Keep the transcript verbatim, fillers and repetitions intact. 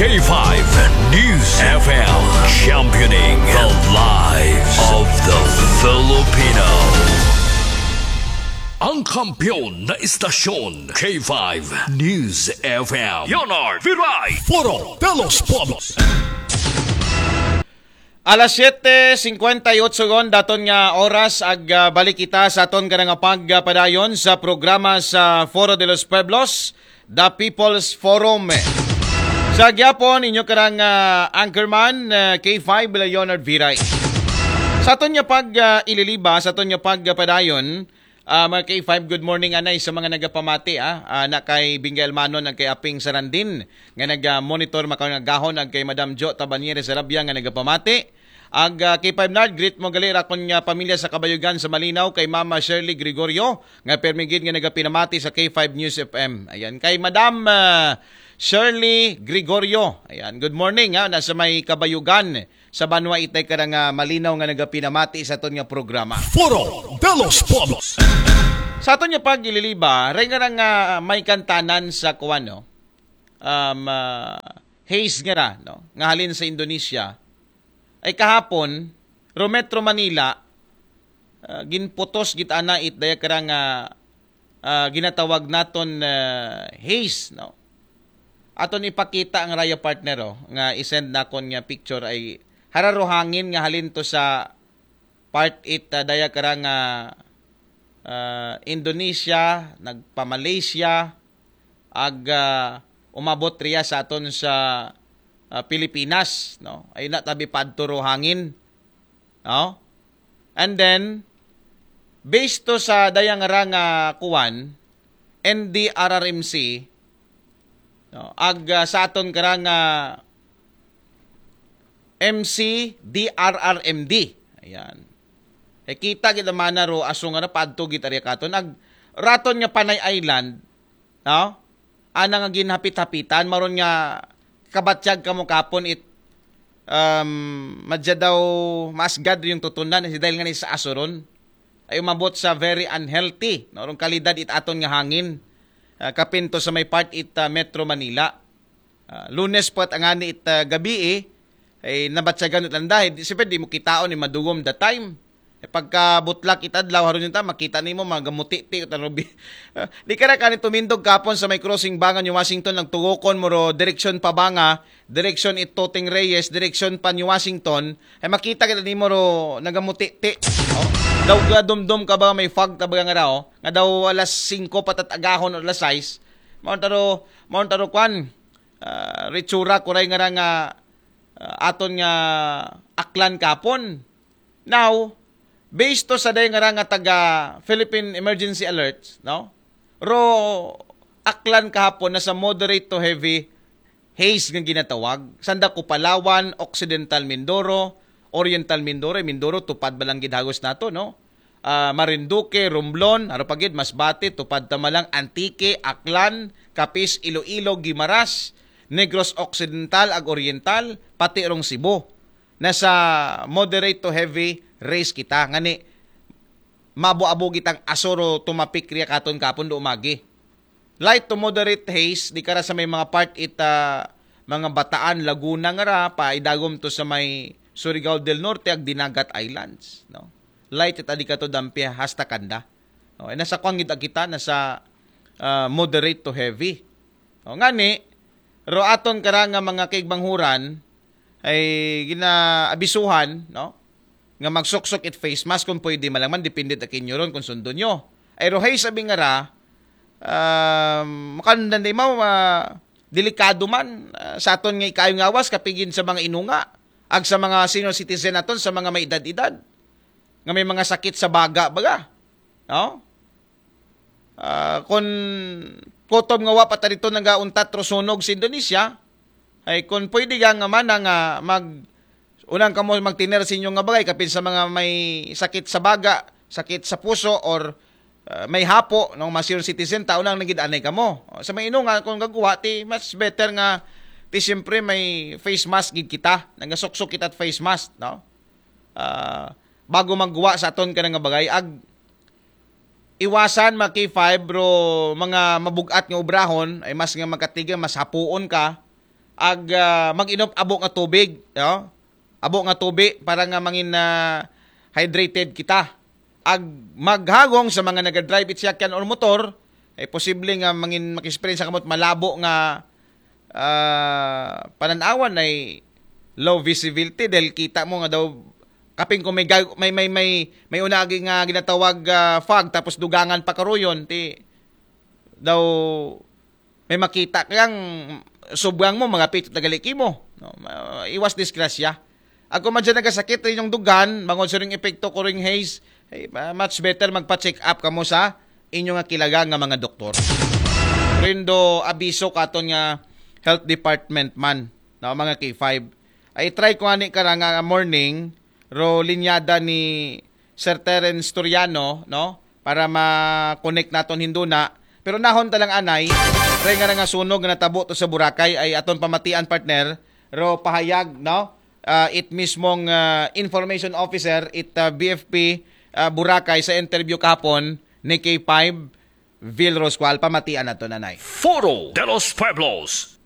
K five News F M, championing the lives of the Filipino. Ang kampiyon na istasyon, K five News F M. Leonard Viray. Foro de los Pueblos. Alas siyete singkwenta y otso gon daton nga oras ag ah, balik kita sa aton kanang pagpadayon sa programa sa Foro de los Pueblos, The People's Forum. Sa gyapon inyo karang ah, anchorman ah, K five Leonard Viray. Sa aton nga pag ah, ililiba, sa aton nga pagpadayon, Ah, mga K five, good morning anay sa mga nagapamati ah. Ah, na kay Bingay Almanon ag kay Aping Sarandin nga nag-monitor makanagahon ag kay Madam Jo Tabanyeres Arabia nga nagapamati. Ag ah, K five Nard, greet mo gali ra akon nga pamilya sa Kabayugan sa Malinaw kay Mama Shirley Gregorio nga permi gid nga nagapinamati sa K five News F M. Ayan, kay Madam ah, Shirley Gregorio. Ayan, good morning ha, nasa may Kabayugan sa banwa itay karang ah, Malinaw nga nagapinamati sa aton nga programa. Foro de los Pueblos. Sa aton nga pagililiba, ray nga nga may kantanan sa kuwan, no? Um, ah, haze nga ra, no? Nga halin sa Indonesia. Ay kahapon, ro Metro Manila, ah, ginputos gid ana it daya karang ah, ah, ginatawag naton ah, haze, no? Aton ipakita ang raya partner, oh, nga isend nakon nga picture ay hararo hangin nga halin to sa part it ah, daya karang ah, ah, Indonesia, nagpa-Malaysia, ag ah, umabot riya sa aton sa ah, Pilipinas, no? Ay na tabi padto ro hangin, no? And then based to sa dayang ra nga kuwan, N D R R M C, no? Ag ah, sa aton karang ah, M C D R R M D. Ayan. E kita gid mana ro aso nga napadto gid ari katon ag raton nga Panay Island, no? Ana nga ginhapit-hapitan maron nga kabatyag kamo kapon it um, madya daw maasgad yung tutunan si dahil nga ni sa asuron ay umabot sa very unhealthy no rong kalidad it aton nga hangin. Ah, kapin to sa may part it ah, Metro Manila. Ah, Lunes pa at angani it ah, gabi eh, ay nabatyagan it landa. Di, siyempre, di mo kitaon ni madugom the time. Eh, pagka butlak it adlaw, haron yung ta, makita nimo mga gamuti-ti, ta, Robi. Ah, di ka na kani tumindog kapon sa may crossing Banga, New Washington, nagtugokon mo ro, direksyon pa Banga, direksyon it Toting Reyes, direksyon pa New Washington, ay makita kita nimo ro, nagamuti-ti. Oh? Daw ga dumdum ka ba may fog ta ba nga raw, nga daw alas singko patatagahon o alas sais, maon taro, maon taro kwan, ah, ritsura kuray nga ra nga ah, aton nga aklan kapon. Now, based to sa day nga ra nga taga Philippine Emergency Alert, no? Ro aklan kahapon na sa moderate to heavy haze nga ginatawag. Sanda ko Palawan, Occidental Mindoro, Oriental Mindoro, Mindoro, tupad ba lang gid hagos nato, no? Ah, Marinduque, Romblon, aro pa gid, Masbate, Tupad, Tamalang, Antique, Aklan, Capiz, Iloilo, Guimaras, Negros Occidental, ag Oriental, pati rong Cebu. Nasa moderate to heavy race kita. Ngani, mabo-abo gitang asoro tumapik riya katon kapon do umagi. Light to moderate haze, di kara sa may mga part ita, mga Bataan, Laguna nga ra, pa idagom to sa may Surigao del Norte, ag Dinagat Islands. No? Light it adi kato dampi hasta kanda. No? Ay nasa kwangid kita, nasa ah, moderate to heavy. O, ngani, ro aton kara nga mga kaigbanghuran, ay ginaabisuhan, no? Nga magsuksok it face mask kung pwede malangman, depende ta kinyo ron kung sundo nyo. Ay rohay sabi nga ra, um, makandan di mo, ah, delikado man ah, sa aton nga ikayo ngawas kapigin sa mga inunga ag sa mga senior citizen naton sa mga may edad-edad nga may mga sakit sa baga baga, no? Ah, kung kutob nga wa pa ta dito nagauntat ro sunog sa Indonesia, ay kung pwede ka nga mana nga mag unang kamo magtiner sa inyo nga bagay kapin sa mga may sakit sa baga, sakit sa puso, or ah, may hapo, no, mga senior citizen, tao nang nagid anay kamo. O, sa may ino nga kung gagawa ti mas better nga ti siyempre may face mask gid kita, nagasuksok kita at face mask, no? Ah, bago magguwa sa aton ka nga bagay, ag iwasan mga K five, bro, mga mabugat nga obrahon, ay mas nga magkatiga, mas hapuon ka, ag ah, mag-inom abo nga tubig, no? Abo nga tubig para nga mangin ah, hydrated kita. Ag maghagong sa mga nagadrive it siyakyan or motor, ay posible nga mangin maki-experience kamot malabo nga ah, pananawan ay low visibility dahil kita mo nga daw kaping kung may gag- may may may may unagi nga ginatawag ah, fog tapos dugangan pa karuyon ti daw may makita kang subuang mo magapit tagali kimo, no? Ma- iwas disgrasya. Ako man dyan nagasakit rin yung dugan mangod sa ring epekto ko ring haze, ay, ma- much better magpa-check up kamo sa inyo nga kilaga nga mga doktor. Rindo abiso katon nga health department man na mga K five. Ay try ko ani kara nga morning ro linyada ni Sir Terence Toriano, no? Para ma-connect naton hinduna. Pero nahon talang anay, try nga na nga sunog nga natabo to sa Boracay ay aton pamatian partner ro pahayag, no? Ah, it mismong ah, information officer it ah, B F P ah, Boracay sa interview kahapon ni K five Vil Roscual pamatian nato nanay. Foro de los Pueblos.